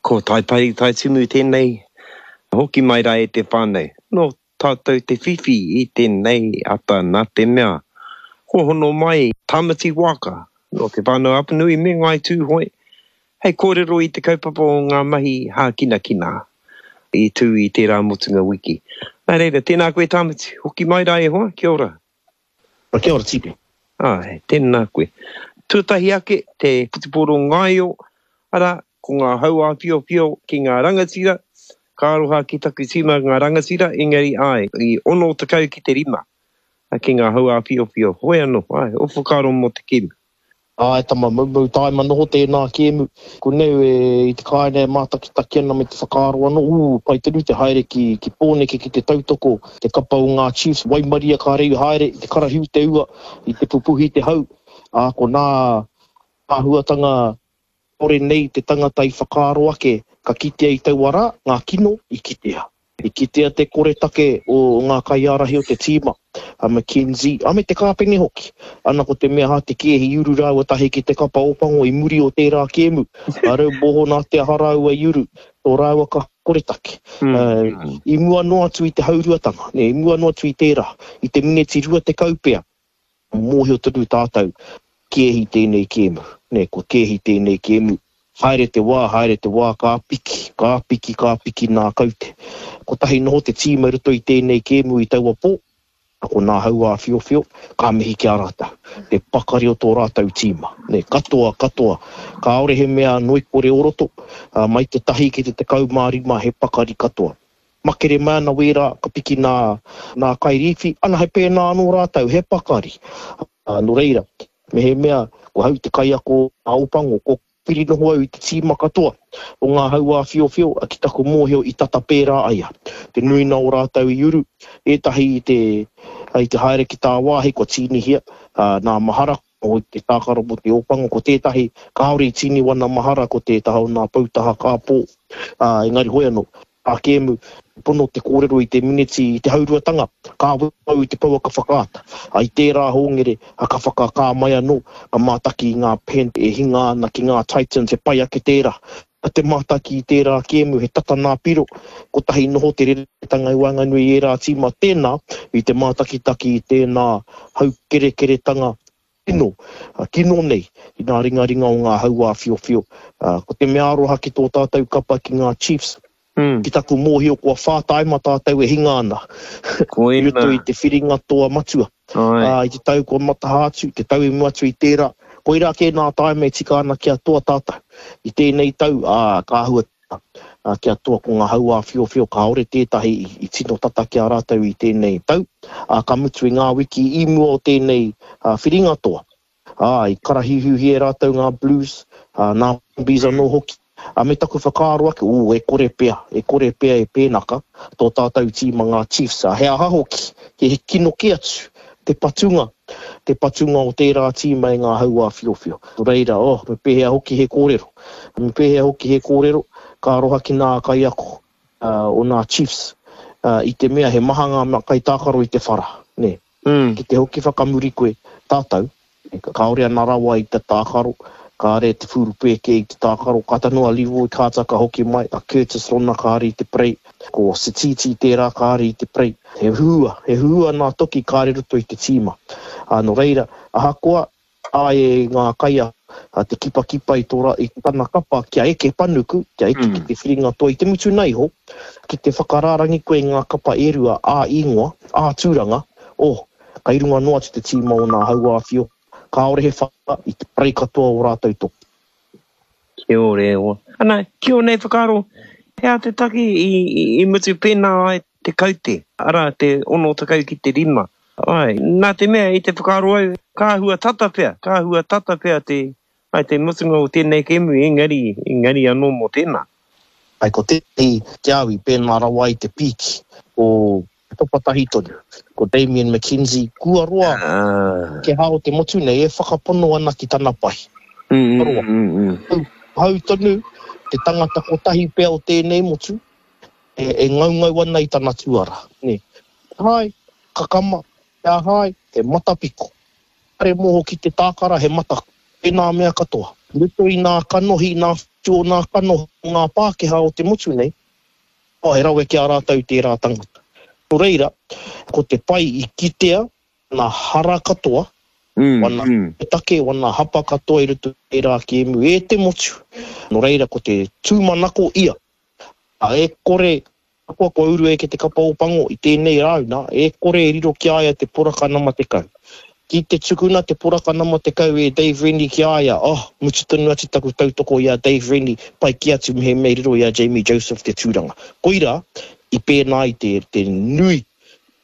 Ko Taipari Taitimu tēnei, hoki mai rā e te whānau. Nō tātou te whiwhi i tēnei ata nā te mea kua hono mai Tāmati Waaka nō Te Whānau-a-Apanui me Ngāi Tūhoe hei kōrero i te kaupapa o ngā mahi hākinakina i tū i tērā motunga wiki. Nā reira, tēnā koe Tāmati, hoki mai rā e hoa, kia ora. Kia ora Tipi. Āe, tēnā koe. Tuatahi ake, te whutupōro ngaio, arā, ko ngā hau āwhiowhio ki ngā rangatira, ka aroha ki taku tīma ngā rangatira, engari āe, i 60 ki te rima ki ngā hau āwhiowhio. Hoi anō, āe, ō whakaaro mō te kēmu. Āe tama, moumou tāima noho tēnā kēmu. Ko neu e i te kāinga e mātakitaki ana me te whakaaro anō, ū, pai tonu te haere ki, ki Pōneke ki te tautoko te kapa o ngā Chiefs, waimaria ka reu haere i te karahiu te ua, i te pupuhi te hau, ā, ko nā āhuatanga kore nei te tangata i whakaaro ake ka kitea i taua rā, ngā kino i kitea. I kitea te koretake o ngā kaiārahi o te tīma, a McKenzie, a me te kāpene hoki. Ana ko te mea hā te kēhi i uru rāua tahi ki te kapa Ōpango i muri o tērā kēmu. A rau moho nā te aha rāua i uru, tō rāua ka koretake. I mua noa atu i te hauruatanga, i mua noa atu i tērā, i te mineti 20 pea, Mōhio tonu tātou, kēhi tēnei kēmu, nē, kua kēhi tēnei kēmu. Haere te wā, haere te wā, ka piki, ka piki, ka piki nā kaute. Kotahi noho te tīma i roto i tēnei kēmu i taua pō, ko nā Hauāwhiowhio, ka mihi ki a rātou. Te pakari o tō rātou tīma, nē, katoa, katoa. Kāore he mea ngoikore o roto, mai te tahi ki te 15 he pakari katoa. Makere mai ana wērā, ka piki nā, nā kairīwhi, ana he pēnā anō rātou, he pakari. Ā, nō reira, mehemea ko hau te kaiako a Opango, ko piri noho au i te tīma katoa o ngā hauāwhiowhio, ki taku mōhio i tata pērā ai a. Te nuina o rātou i uru, ētahi i te, i te haere ki tāwāhi kua tīnihia, ā, nā mahara, o te tākaro mō te Ōpango, ko tētahi kāore i tīni wana mahara ko te taha o nā poutaha kāpō, ā, engari hoi anō, a kēmu, pono te kōrero i te miniti i te hauruatanga, ka au i te pouaka whakaata, ā, i tērā hōngere, ā, ka whakakā mai anō, ka mātaki i ngā pen e hinga ana ki ngā Titans, he pai ake tērā. Te mātaki i tērā kēmu, he tata nā piro, kotahi noho te reretanga i waenganui i ērā tīma, tēnā, i te mātakitaki i tēnā haukerekeretanga kino, kino nei i ngā ringaringa o ngā hauāwhiowhio. Ko te mea aroha ki tō tātou kapa ki ngā Chiefs, ki taku mōhio kua whā taima tātou e hinga ana i roto i te whiringa toa matua. I te tau kua mataha atu, te tau i mua atu i tērā, koirā kē nā taima e tika ana kia toa tātou. I tēnei tau, ā, ka āhua tika kia toa ko ngā hauāwhiowhio kāore tētahi i tino tata ki a rātou i tēnei tau, ā, ka mutu i ngā wiki i mua o tēnei whiringa toa. Ā, i karahiuhiuhi e rātou ngā Blues, ā, nā Brumbies anō hoki. Ā, me taku whakaaro ake, ū, e kore pea, e kore pea e pēnaka tō tātou tīma ngā Chiefs, ā, he aha hoki, he kino kē atu te patunga, te patunga o tērā tīma e ngā hauāwhiowhio. Nō reira, oh, me pēhea hoki he kōrero, me pēhea hoki he kōrero, ka aroha ki nā kaiako o nā Chiefs, i te mea he maha ngā kaitākaro i te whara, nē. Ki te hoki whakamuri koe, tātou, kāore ana rawa i te tākaro, kāre te whurupēke i te tākaro, kāta noa a Leroy Carter ka hoki mai, a Curtis Rona kāre i te prei, ko Sititi tērā kāre i te prei. He huhua, he huhua nā toki kāre roto i te tīma. Ā, nō reira, ahakoa Āe ngā kaiako te kipakipa i tō i tana kapa kia eke panuku, kia eke ki te whiringa toa i te mutuna iho, ki te whakarārangi koe i ngā kapa e rua ā-īngoa, ā-tūranga, oh, kei runga noa atu te tīma o nā hauāwhio, kāore he whara i te parei katoa o rātou toki. Kia ora e hoa. Ana, ki ō nei whakaaro, he aha te take i mutu pēnā ai te kaute, arā, te 60 ki te rima? Āe, nā te mea i te whakaaro au, ka āhua tata pea, ka āhua tata pea te, āe, te mutunga o tēnei kēmu, engari, engari anō mō tēnā. Āe, ko tētahi ki a au i pēnā rawa ai te pīki o Topa tahi tonu, ko Damian McKenzie, kua roa te hā o te motu nei e whakapono ana ki tana pahi. Kua roa. Hau tonu te tangata kotahi pea o tēnei motu e ngaungau ana i tana tuara. Hae, kakama, he aha ai, he matapiko. Kare moho ki te tākara, he mata, tēnā mea katoa. I roto i nā kanohi, nā whatu o nā kanohi o ngā Pākehā o te motu nei, oh, he rawe ki a rātou tērā tangata. Nō reira, ko te pai i kitea wana hara katoa, wana take, wana hapa katoa i roto i tērā kēmu e te motu. Nō reira, ko te tūmanako ia, e kore Ahakoa kua uru eke te kapa Ōpango i tēnei rāuna, e kore e riro ki a ia te poraka nama 10. Ki te tukuna te poraka nama 10 e Dave Rennie ki a ia, oh, mutu tonu atu taku tautoko i a Dave Rennie, pai kē atu mehemea i riro i a Jamie Joseph te tūranga. Koirā i pēnā ai te, te nui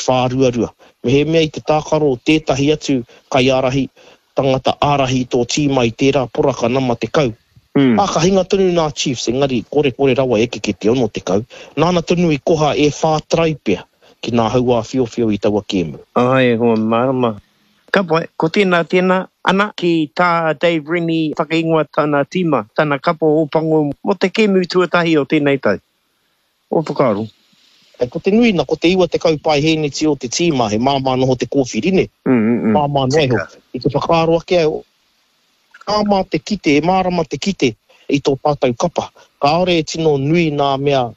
whāruarua. Mehemea i te tākaro o tētahi atu kaiārahi, tangata ārahi i tō tīma i tērā poraka nama 10. Ā, ka hinga tonu nā Chiefs, engari korekore rawa eke ki te 60. Nāna tonu i koha e whā try pea ki nā hauāwhiowhio i taua kēmu. Āe, hoa mārama. Ka pai, ko tēnā tēnā, ana, ki tā Dave Rennie whakaingoa tana tīma, tana kapa Ōpango mō te kēmu tuatahi o tēnei tau. Ō whakaaro? Ko te nui na, ko te 90 paehēneti o te tīma, he māmā noho te kōwhiri, nē? Māmā noa iho. I te whakaaro ake au, māmā te kite, e mārama te kite i tō tātou kapa. Kāore e tino nui nā mea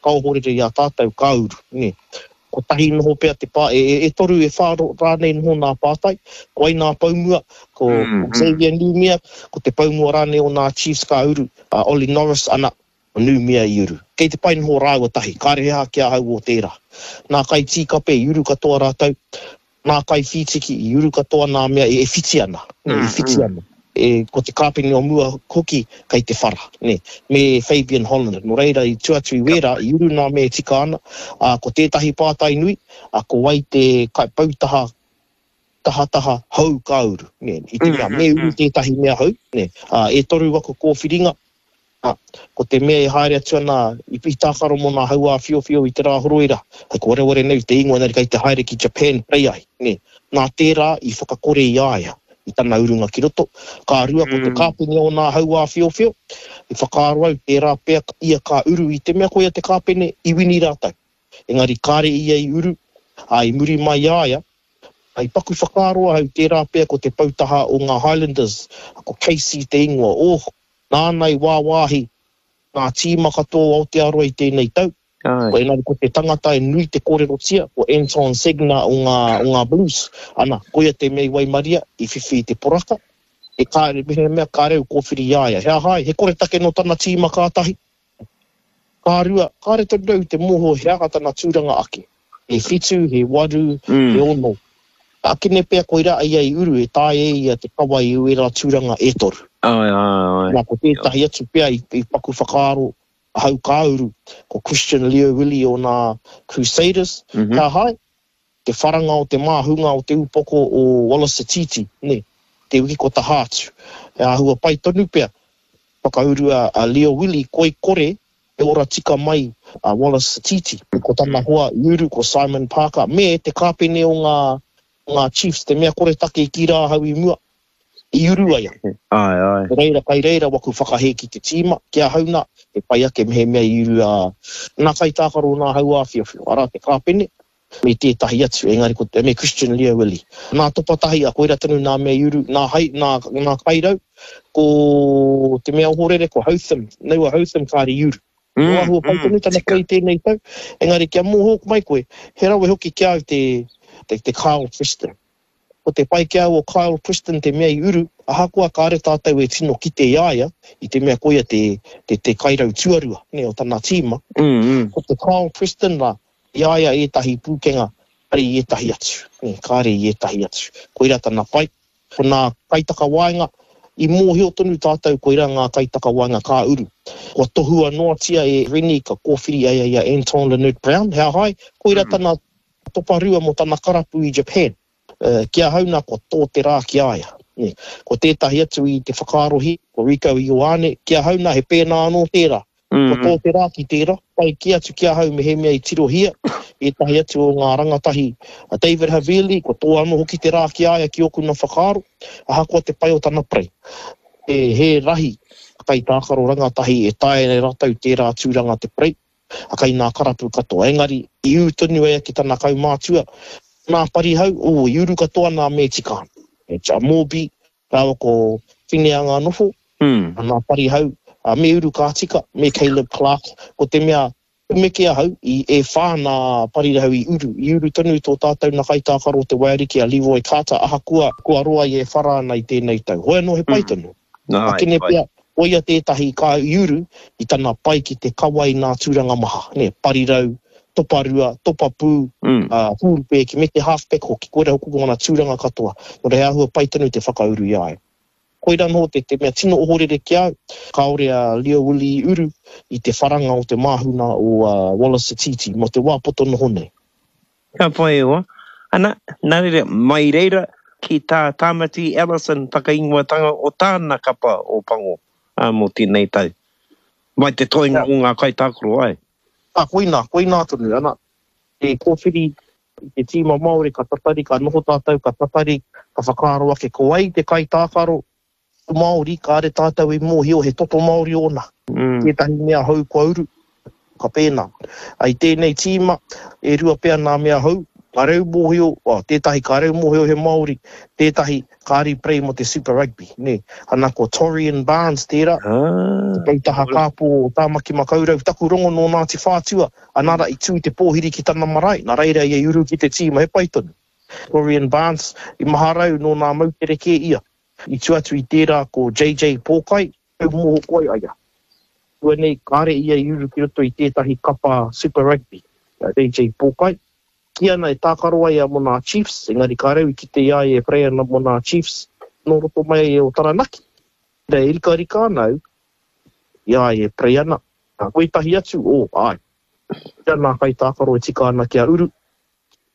ka ohorere i a tātou, ka uru, nē? Kotahi noho pea te pā, e, e toru, e whā rānei noho nā pātai. Ko ai nā poumua, ko Xavier Numia, ko te poumua rānei o nā Chiefs ka uru, a Ollie Norris, ana, Ko Numia i uru. Kei te pai noho rāua tahi, kāre he aha ki ahau o tērā. Nā Kaitīkape i uru katoa rātou, nā Kaiwhītiki i uru katoa nā mea e whiti ana, nē, e whiti ana. E, ko te kāpene o mua hoki kei te whara, nē, me Fabian Holland. Nō reira, i tua atu i wērā, i uru nā mea e tika ana, ā, ko tētahi pātai nui, ā, ko wai te poutaha tahataha hou ka uru, nē, i te mea me uru tētahi mea hou, nē, ā, e toru aku kōwhiringa, ā, ko te mea e haere atu ana i, i tākaro mō nā hauāwhiowhio i te rā horoi rā, hei ko wareware nei te ingoa engari kei te haere ki Japan pei ai, nē, nā tērā i whakakore i a ia i tana urunga ki roto, ka rua ko te kāpene o nā hauāwhiowhio, i whakaaro au tērā pea ia ka uru i te mea koia te kāpene i wini rātou. Engari kāre ia i uru, ā, i muri mai i a ia, i paku whakaaro ahau tērā pea ko te poutaha o ngā Highlanders, ko Casey te ingoa, oh, nāna i wāwāhi ngā tīma katoa o Aotearoa i tēnei tau, engari ko te tangata e nui te kōrerotia, ko Anton Segner o ngā, o ngā Blues, ana, koia te mea i waimaria, i whiwhi i te poraka, e kāre, mehemea kāre au kōwhiri i a ia, he aha ai, he koretake nō tana tīma kātahi. Ka rua, kāre tonu au i te mōhio he aha tana tūranga ake. He whitu, he waru, he ono. Akene pea koirā ia i uru e taea e ia te kawa i ērā tūranga e toru. Āe, āe, āe. Nā, ko tētahi atu pea i paku whakaaro ahau ka uru, ko Christian Lio-Willie o nā Crusaders. He aha ai? Te wharanga o te māhunga o te upoko o Wallace Sititi, nē, te wiki kua taha atu. He āhua pai tonu pea whakaurua a Leo Willie koi kore e ora tika mai a Wallace Sititi. Ko tana hoa i uru ko Simon Parker me te kāpene o ngā ngā Chiefs, te mea koretake i kī rā ahau i mua, i uru ai a. Āe, āe. Nō reira, kai reira waku whakahē ki te tīma, ki ahau nā, he pai ake mehemea i uru a nā kaitākaro o nā hauāwhiowhio, arā te kāpene, me tētahi atu, engari ko, me Christian Leo Willie. Nā Topa Tahi, a koira tonu nā mea i uru, nā hai, nā, nā Kairau, ko te mea ohorere, ko Hotham, Noah Hotham kāre i uru. Mm, Nō āhua pai mm, tonu tana tika. play tēnei tau, engari kia mōhio mai koe, he rawe hoki ki a au te, te, te Kyle Preston. Ko te pai ki a au o Kyle Preston te mea i uru, ahakoa kāre tātou e tino kite i a ia, i te mea koia te, te, te kairau tuarua, nē, o tana tīma. Ko te Kyle Preston rā, i a ia ētahi pūkenga, kāre i ētahi atu, nē, kāre i ētahi atu. Koirā tana pai. Ko nā kaitakawaenga, i mōhio tonu tātou koirā ngā kaitakawaenga ka uru. Kua tohua noatia e Rennie ka kōwhiri a ia i a Anton Lienert-Brown, he aha ai? Koirā tana toparua mō tana karapu i Japan. Ki ahau nā kua tō te rā ki a ia. Ko tētahi atu i te whakaarohia, ko Rieko Ioane, ki ahau nā he pēnā anō tērā. Kua tō te rā ki tērā. Pai kē atu ki ahau mehemea i tirohia ētahi atu o ngā rangatahi a David Havili, kua tō anō hoki te rā ki a ia ki ōku nā whakaaro, ahakoa te pai o tana parei. He rahi kaitākaro rangatahi e taea e rātou tērā tūranga te parei. A kei nā karapu katoa. Engari, i ū tonu ia ki tana kaumātua, nā Parihau, ō, i uru katoa nā Mētikāna. E, a Morby rāua ko Fineanganofo. Nā Parihau, me Uru Kātika, me Caleb Clarke. Ko te mea tumeke ahau, i e whā nā Parirahau i uru. I uru tonu tō tātou na kaitākaro o te Waiariki a Leroy Carter ahakoa kua roa ia e whara ana i tēnei tau. Hoi anō he pai tonu. Akene pea, koia tētahi ka i uru i tana pai ki te kawa i nā tūranga maha, nē, parirau, toparua, topapū, ā, hūrupēki, me te halfback hoki, koirā hoki ko ngana tūranga katoa. Nō reira he āhua pai tonu te whakauru i a ia. Koirā noho te te mea tino ohorere ki a au, kāore a Leo Willie i uru i te wharanga o te māhuna o Wallace Sititi mō te wā poto noho nei. Ka pai e hoa. Ana, nā reira, mai reira ki tā Tāmati Ellison whakaingoatanga o tāna kapa o Pango mō tēnei tau. Mai te toenga o ngā kaitākaro, āe. Ā, koinā, koinā tonu, ana, te kōwhiri i te tīma Māori ka tatari, ka noho tātou, ka tatari, ka whakaaro ake ko wai te kaitākaro Māori, kāre tātou i mōhio he toto Māori ōna. Tētahi mea hou kua uru, ka pēnā. I tēnei tīma, e rua pea nā mea hou, ka reu mōhio, well, tētahi ka reu mōhio he Māori, tētahi kāri prei mō te Super Rugby, nē. Ana ko Torian Barnes tērā, te poutaha kāpō o Tāmaki Makaurau, taku rongo nō Ngāti Whātua, Ana ra i tū te pōhiri ki tana marae, na reira ia i uru ki te tīma, he pai tonu. Dorian Barnes, i maharau nō nā moutere kē ia. I tua atu i tērā ko JJ Pōkai, tau moho koe a ia. Tua nei kāre ia i uru ki roto i tētahi kapa Super Rugby, a JJ Pōkai. Kī ana e tākaro ai ia mō nā Chiefs, engari kāre au i kite i a ia e pray ana mō nā Chiefs nō roto mai ai o Taranaki. Reira e rikarika ana au i a ia e pray ana. Ko ētahi atu, oh, āe. Koia nā kaitākaro e tika ana kia uru.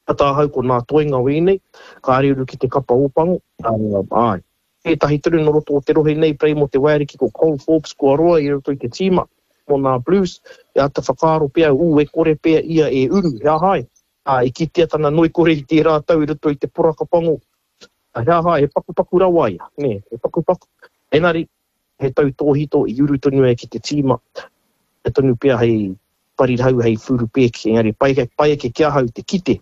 Tata ahau ko nā toenga wēnei, kāre uru ki te kapa Ōpango, āe. Tētahi tonu nō roto o te rohe nei, pei mō te waiariki ko Cole Forbes kua roa i roto i te tīma mō nā Blues, e āta whakaaro pea au, ū, e kore pea ia e uru, he aha ai? Ā, i kitea tana ngoikore i tērā tau i roto i te poraka pango, he aha ai, he pakupaku rawa ia, nē, he pakupaku. Engari, he tautōhito i uru tonu ai ki te tīma, he tonu pea hei parirau, hei whurupēke, engari pai, pai ake ki ahau te kite,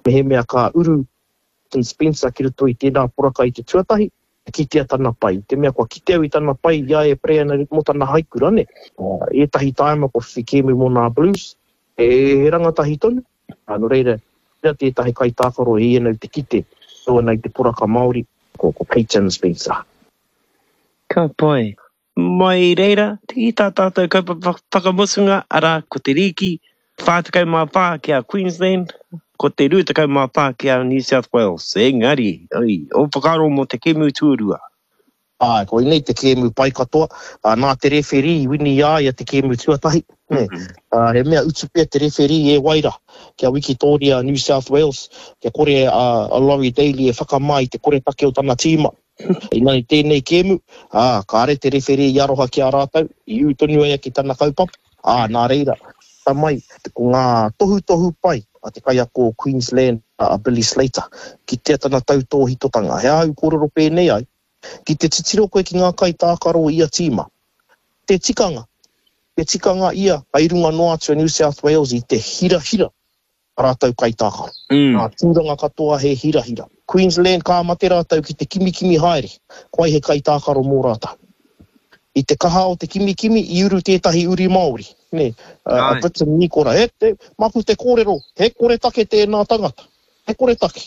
mehemea ka uru Tim Spencer ki roto i tēnā poraka i te tuatahi, ka kitea tana pai. I te mea kua kite au i tana pai i a e pray ana mō tana haikura, nē. Ētahi tāima kua whiwhi kēmu mō nā Blues, he, he rangatahi tonu, nō reira, koira tētahi kaitākaro e ana i te kite, tau ana i te poraka Māori, ko, ko Peyton Spencer. Ka pai. Mai reira, ki tā tātou kaupapa whakamutunga, arā, ko te rīki 44 ki a Queensland, ko te 24 ki a New South Wales. Engari, oi, ō whakaaro mō te kēmu tuarua? Āe, koinei te kēmu pai katoa. Nā te rewherī i wini i a ia te kēmu tuatahi. Nē. He mea utu pea te rewherī e wai rā, kia wikitōria a New South Wales, kia kore a Laurie Daley e whakamā i te koretake o tana tīma. Engari tēnei kēmu, ā, kāre te rewherī i aroha ki a rātou, i ū tonu ai ki tana kaupapa, ā, nā reira, puta mai ko ngā tohutohu pai a te kaiako o Queensland, a Billy Slater, kitea tana tautōhitotanga. He aha au kōrero pēnei ai? Ki te titiro koe ki ngā kaitākaro o ia tīma, te tikanga, te tikanga ia, kai runga noa atu a New South Wales i te hirahira a rātou kaitākaro. Ngā tūranga katoa he hirahira. Queensland ka mate rātou ki te kimikimi haere, koai he kaitākaro mō rātou. I te kaha o te kimikimi i uru tētahi uri Māori, nē, a Briton Nikora. He, he, maku te kōrero, he koretake tēnā tangata. He koretake.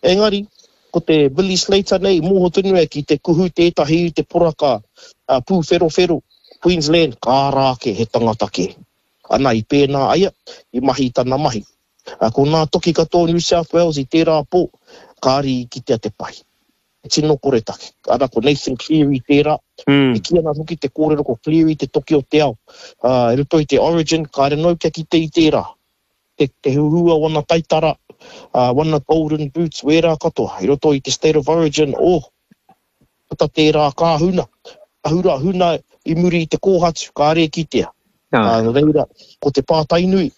Engari, ko te Billy Slater nei, mōho tonu ai ki te kuhu tētahi i te poraka pūwherowhero, Queensland, ka ara ake he tangata kē. Ana, i pēnā aia, i mahi i tana mahi. Ko nā toki katoa o New South Wales i tērā pō, kāri i kitea te pai. He tino koretake. Ana, ko Nathan Cleary tērā. E kī ana hoki te kōrero ko Cleary te toki o te ao. I roto i te Origin, kāre noa kia kite i tērā. Te, te huhua o ana taitara, wana golden boots, wērā katoa. I roto i te State of Origin, oh! Puta tērā ka huna, ka hura huna i muri i te kōhatu, kāre e kitea. Ā, nō reira, ko te pātai nui,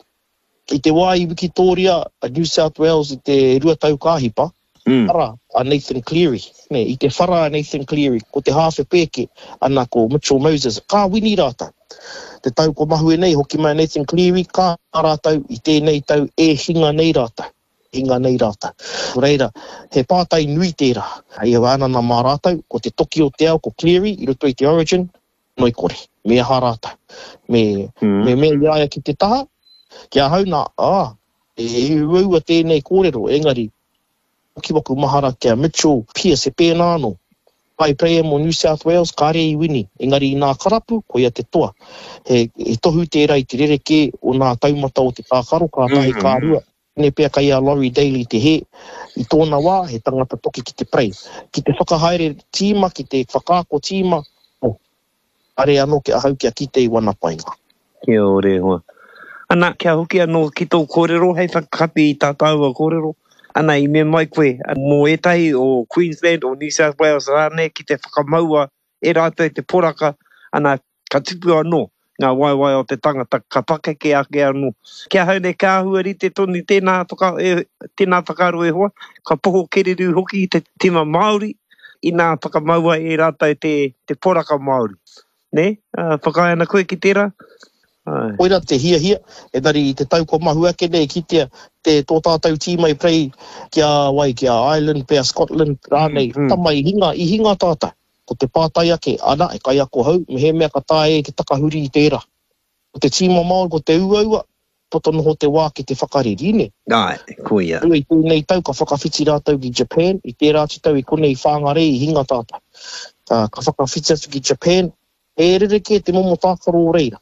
i te wā i wikitōria a New South Wales i te 2 tau ka hipa, whara a Nathan Cleary, nē, i te whara a Nathan Cleary, ko te hāwhe pēke, ana ko Mitchell Moses, ka wini rātou. Te tau ko mahue nei, hoki mai a Nathan Cleary, ka rātou i tēnei tau e hinga nei rātou. Hinga nei rātou. Nō reira, he pātai nui tērā. Hei ānana mā rātou, ko te toki o te ao, ko Cleary, i roto i te Origin, ngoikore. Me aha rātou? Me, me mea i a ia ki te taha, ki ahau nā, ā, he uaua tēnei kōrero, engari, hoki waku mahara ki a Mitchell Pearce, he pēnā anō. Kai player mō New South Wales, kāre i wini, engari i nā karapu, koia te toa. He, he tohu tērā i te rerekē o nā taumata o te tākaro, ka tahi, ka rua. Tēnei pea kei a Laurie Daley te hē. I tōna wā, he tangata toki ki te prei. Ki te whakahaere tīma, ki te whakaako tīma, oh, kāre anō ki ahau kia kite i wana painga. Kia ora e hoa. Ana, kia hoki anō ki tō kōrero hei whakakapi i tā tāua kōrero. Ana, i mea mai koe, mō ētahi o Queensland, o New South Wales rānei ki te whakamaua e rātou te poraka, ana, ka tupu anō ngā waewae o te tangata, ka pakeke ake anō. Ki ahau nei, ka āhua rite tonu tēnā whaka, e, tēnā whakaaro e hoa, ka poho kererū hoki te tima Māori, inā whakamaua e rātou te, te poraka Māori. Nē? Uh, whakaae ana koe ki tērā? Ai. Koira te hiahia, engari i te tau kua mahue ake nei kitea te tō tātou tīma i play ki a wai, ki a Ireland pea, Scotland rānei, mm, mm. tama i hinga, i hinga tātou. Ko te pātai ake, ana, he kaiako hou, mehemea ka taea e te takahuri i tērā. Ko te tīma Māori, ko te uaua, poto noho te wā ki te whakareri, nē? Āe, koia. Rua i tēnei tau ka whakawhiti rātou ki Japan, i tērā atu tau i konei i Whangarei i hinga tātou. Ka, ka whakawhiti atu ki Japan, he rerekē te momo tākaro o reira.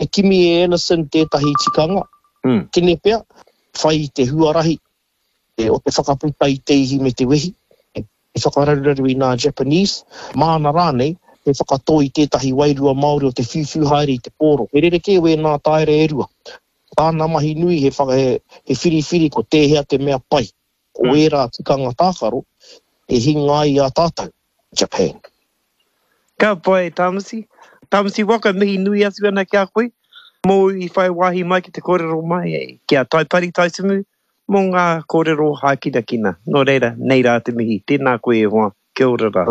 He kimi e Ellison tētahi tikanga, mm. kene pea, whai i te huarahi, o te whakaputa i te ihi me te wehi, he whakararuraru i nā Japanese, māna rānei, he whakatō i tētahi wairua Māori o te whiuwhiu haere i te pōro. He rerekē wēnā taera e rua. Tāna mahi nui he, he, he whiriwhiri ko tēhea te mea pai o ērā tikanga tākaro e hinga ai i a tātou, Japan. Ka pai Tamati. Tamati Waka, mihi nui atu ana ki a koe mōu i whai wāhi mai ki te kōrero mai ki a Taipari Taitumu mō ngā kōrero hākinakina. Nō reira, nei rā te mihi. Tēnā koe e hoa. Kia ora rā.